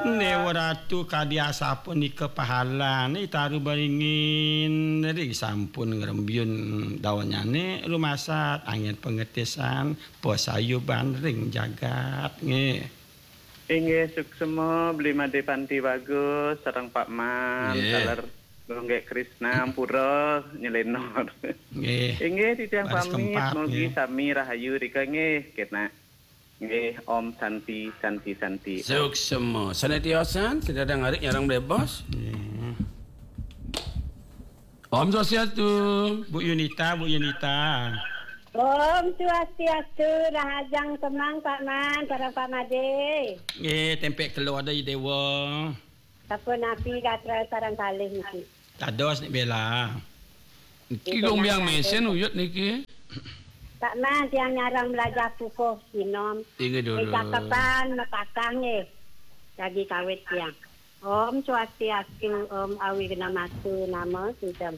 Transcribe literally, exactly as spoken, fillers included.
Déwa Ratu kadi asapunika pahalane taru beringin ri sampun ngrembyun dawannyane rumasat angin pangetisan pasayuban ring jagat nggih. Inggih, suksma Beli Made Panti Bagus sareng Pak Man, nggih, taler Gunggek Krisna ampura nyelenor. Nggih. Inggih, titiang pamit, mugi sami rahayu rika nggih, kena. Nggih, Om Santi, Santi, Santi. Suksma. Sane tiosan, sing dadi ngarit nyareng bebos. Nggih. Om Swastiastu. Bu Yunita, Bu Yunita. Om Swastiastu, rahajeng semeng Pak Man, sareng Pak Made. Nggih, tempek kelo ada Dewa. Sapunapi gatra sareng kalih niki? Dados nek bela. Niki Gung Biang Mesen uyut niki. Pak Man, tiang nyarang melajah pupuh sinom. Inggih dulu. Cakepan mekakah nggih. Jagi kawit tiang. Om Swastiastu, Om Awighnamastu Namo Sidham.